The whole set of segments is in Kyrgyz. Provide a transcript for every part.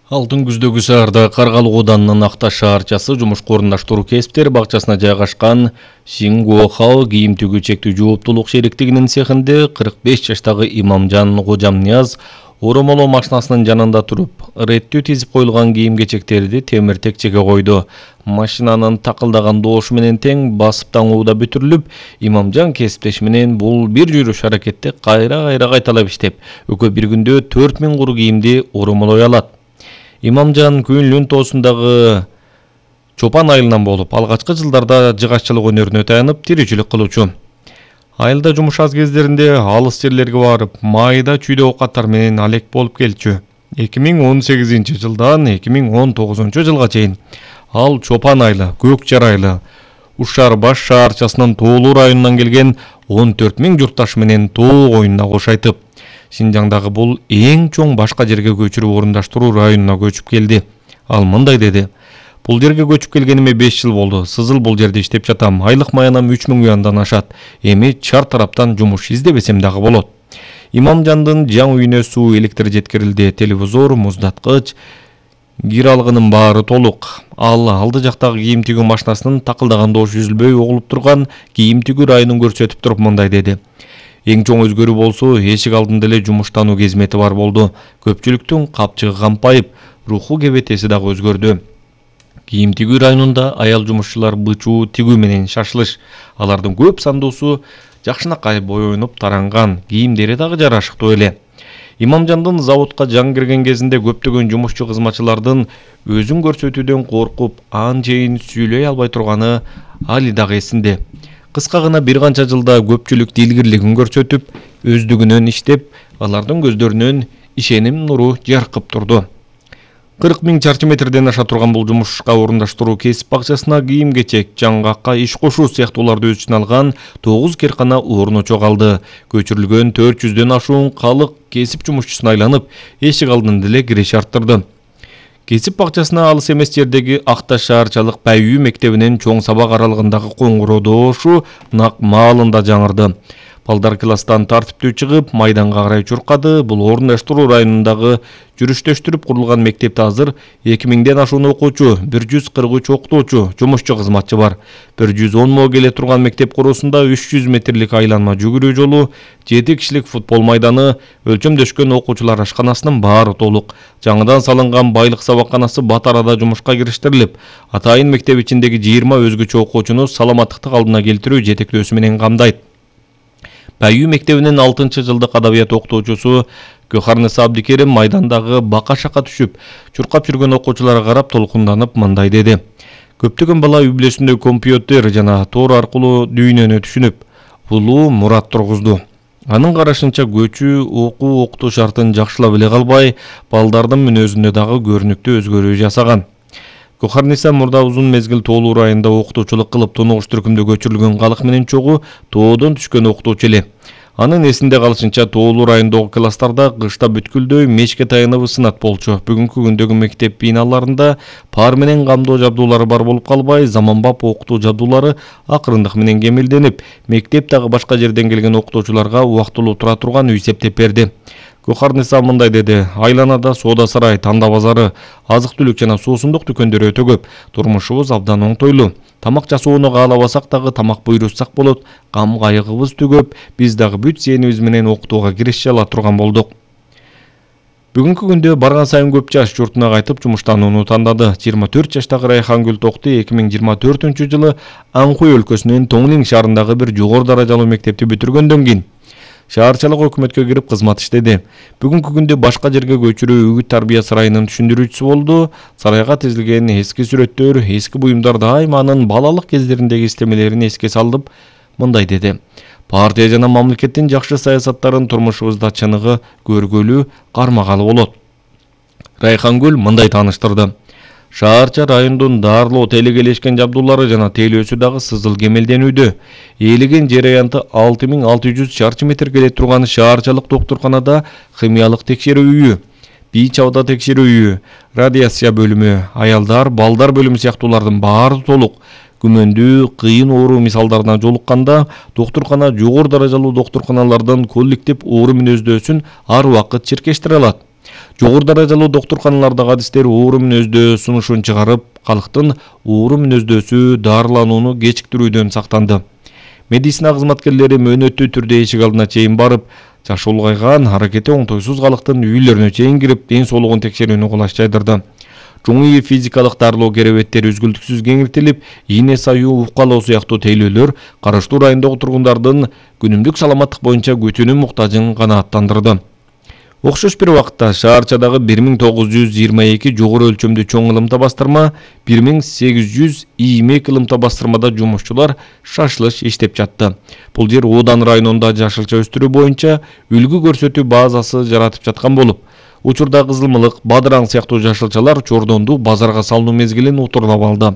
Алтын күздөгү шаарда Каргалык ооданынын Акташ шаарчасы жумушка орундаштыруу кесиптер бакчасына жайгашкан Шингуохао кийим тигүү чектүү жооптулук шериктигинин цехинде 45 жаштагы Имамжан Кожамнияз оромолоо машинасынын жанында туруп, реттүү тизип коюлган кийим-кечектерди темир текчеге койду. Машинанын такылдаган доошу менен тең басып таңууда бүтүрүлүп, Имамжан кесиптеши менен бул бир жүрүш аракетти кайра кайталап иштеп, экөө бир күндө 4000 куру кийимди оромолой алат. Имамжан Күнлүн тоосундагы чопан айылынан болуп, алгачкы жылдарда жыгаччылык өнөрүнө таянып, тиричилик кылуучу. Айылда жумуш аз кездеринде алыс жерлерге барып, майда чүйдө оокаттар менен алек болуп келчү. 2018-жылдан 2019 жылга чейин ал Чопан айылы, Көк Жар айылы, Ушар баш шаарчасынын Тоолуу районунан келген 14 000 журтташ менен тоо коюнуна кош айтып, Шинжаңдагы бул эң чоң башка жерге көчүрүп орундаштыруу районуна көчүп келди. Ал мындай деди: "Бул жерге көчүп келгениме 5 жыл болду. Сызыл бул жерде иштеп жатам. Айлык маянам 3000 юандан ашат. Эми чар тараптан жумуш издебесем дагы болот." Имамжандын жаңы үйүнө суу, электр жеткирилди, телевизор, муздаткыч, кир алгынын баары толук. Ал алды жактагы кийим тигүү машинасынын такылдаган доошу үзүлбөй угулуп турган кийим тигүү районун көрсөтүп туруп мындай деди: "Эң чоң өзгөрүү болсо, эшик алдында эле жумуштануу кезмети бар болду. Көпчүлүктүн капчыгы кампайып, руху кебетеси дагы өзгөрдү. Кийим тигүү районунда аял жумушчулар бычуу тигүү менен шашылыш. Алардын көп сандуусу жакшынакай боёнуп таранган, кийимдери дагы жарашыктуу эле." Имамжандын заводко жаңы кирген кезинде көптөгөн жумушчу кызматчылардын өзүн көрсөтүүдөн коркуп, анчейин сүйлөй албай турганы али дагы эсинде. Кыска гана бир канча жылда көпчүлүк дилгирлигин көрсөтүп, өздүгүнөн иштеп, алардын көздөрүнөн ишеним нуру жаркып турду. 40 000 чарчы метрден аша турган бул жумушка орундаштыруу кесип бакчасына кийим-кечек, жаңгакка иш кошуу сыяктууларды өз ичине алган 9 керкана орну чогалды. Көчүрүлгөн 400дөн ашуун калык кесип жумушчусуна айланып, эшик алдында эле киреш арттырды. Кесип бакчасына алыс эмес жердеги Акташ шаарчалык Пайүү мектебинин чоң сабак аралыгындагы коңгуроо доошу нак маалында жаңырды. Балдар класстан тартиптүү чыгып, майданга карай чуркады. Бул орундаштыруу районундагы жүрүштөштүрүп курулган мектепте азыр 2000ден ашуун окуучу, 143 окутуучу, жумушчу кызматчы бар. 110 мо келе турган мектеп короосунда 300 метрлик айланма жүгүрүү жолу, 7 кишилик футбол майданы, өлчөмдөшкөн окуучулар ашканасынын баары толук. Жаңыдан салынган байлык сабакканасы бат арада жумушка кириштирилип, атайын мектеп ичиндеги 20 өзгөчө окуучуну саламаттыктык алдына келтирүү жетектөөсү менен камдайт. Пайүү мектебинин 6-жылдык адабият окутуучусу Көхарниса Абдикерим майдандагы бака-шака түшүп, чуркап жүргөн окуучуларга карап толкунданып мындай деди: "Көптөгөн бала үй бүлөсүндө компьютер жана тор аркылуу дүйнөнү түшүнүп, улуу мурат тургузду. Анын карашынча көчүү окуу окутуу шартын жакшылап эле калбай, балдардын мүнөзүндө дагы көрүнүктүү өзгөрүү жасаган." Көхарниса мурда узун мезгил Тоолуу районунда окутуучулук кылып, тунугуш түркүмдө көчүрүлгөн калык менен чогуу тоодон түшкөн окутуучу эле. Анын эсинде калышынча Тоолуу районундагы класстарда кышта бүткүлдөй мешке таянып ысынат болчу. Бүгүнкү күндөгү мектеп биналарында пар менен камдоо жабдуулары бар болуп калбай, заманбап окутуу жабдуулары акырындык менен кемелденип, мектеп дагы башка жерден келген окутуучуларга убактылуу тура турган үй септеп берди. Көхарниса мындай деди: "Айланада соода сарай, танда базары, азык-түлүк жана суусундук дүкөндөрү өтө көп. Турмушубуз абдан оңтойлуу. Тамак жасоону каалабасак дагы тамак буйрутсак болот. Кам кайыгыбыз түгөп, биз дагы бүт сенибиз менен окутууга киреше ала турган болдук." Бүгүнкү күндө барган сайын көп жаш журтуна кайтып жумуштанууну тандады. 24 жаштагы Райхангүл Токти 2024-жылы Анхуй өлкөсүнүн Тоңлин шаарындагы бир жогору даражалуу мектепти бүтүргөндөн кийин шаарчалык өкмөткө кирип кызмат иштеди. Бүгүнкү күндө башка жерге көчүрүү үгүт тарбия сарайынын түшүндүрүүчүсү болду. Сарайга тизилген эски сүрөттөр, эски буюмдар дайыма анын балалык кездериндеги истемелерин эске салып мындай деди: "Партия жана мамлекеттин жакшы саясаттарын турмушубузда чыныгы көргөлү, кармагалы болот." Райхангүл мындай тааныштырды: "Шаарча райондун daарлоо телекелешкен жабдуулары жана тейлөөсү дагы сызыл кемелденүүдө. Ээлеген жер аянты 6600 чарчы метр келе турган шаарчалык доктурканада химиялык текшерүү үйү, бийич абада текшерүү үйү, радиация бөлүмү, аялдар, балдар бөлүмү сыяктуулардын баары толук. Күмөндүү, кыйын оору мисалдарына жолукканда доктуркана жогору даражалуу доктурканалардын коллектив оору мүнөздөсүн ар убакыт чиркештире алат. Жогору даражалуу доктурканалардагы адистер оору мүнөздөө сунушун чыгарып, калктын оору мүнөздөөсү дарыланууну кечиктирүүдөн сактанды. Медицина кызматкерлери мөөнөттүү түрдө эшик алдына чейин барып, жашы улгайган, аракети оңтойсуз калктын үйлөрүнө чейин кирип, ден соолугун текшерүүнү кулаш жайдырды. Жуңуй физикалык дарылоо керебеттери үзгүлтүксүз кеңиртилип, ийне саюу, укалоо сыяктуу тейлөөлөр караштуу райондогу тургундардын күнүмдүк саламаттык боюнча күтүүнүн муктажын канааттандырды. Окшош бир убакытта шаарчадагы 1922 жогору өлчөмдүү чоң ылымта бастырма, 1800 иймек ылымта бастырмада жумушчулар шашылыш иштеп жатты. Бул жер Одан районунда жашылча өстүрүү боюнча үлгү көрсөтүү базасы жаратып жаткан болуп, учурда кызылмылык, бадыраң сыяктуу жашылчалар Чордонду базарга салынуу мезгилин утурлап алды.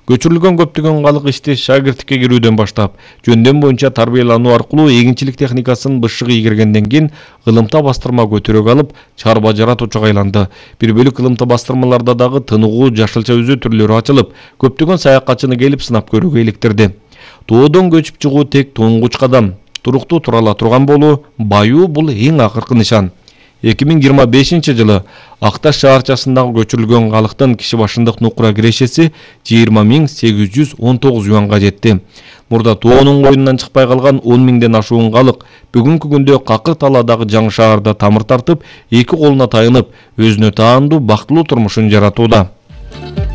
Көчүрүлгөн көптөгөн калк ишти шагирттикке кирүүдөн баштап, жөндөм боюнча тарбиялануу аркылуу эгинчилик техникасын бышык ийгергенден кийин ылымта бастырма көтөрөк алып, чарба жаратуучуга айланды. Бир бөлүк ылымта бастырмаларда дагы тыныгуу жашылча үзүү түрлөрү ачылып, көптөгөн саякатчыны келип сынап көрүүгө иликтирди. Тоодон көчүп чыгуу тек туңгуч кадам. Туруктуу тура ала турган болуу, баюу бул эң акыркы нишан. 2025-жылы Акташ шаарчасындагы көчүрүлгөн калктын киши башындык нукура кирешеси 20.819 юанга жетти. Мурда тоонун коюнунан чыкпай калган 10 миңден ашуун калк бүгүнкү күндө Какыр талаадагы жаңы шаарда тамыр тартып, эки колуна тайынып, өзүнө таандуу бактылуу турмушун жаратууда.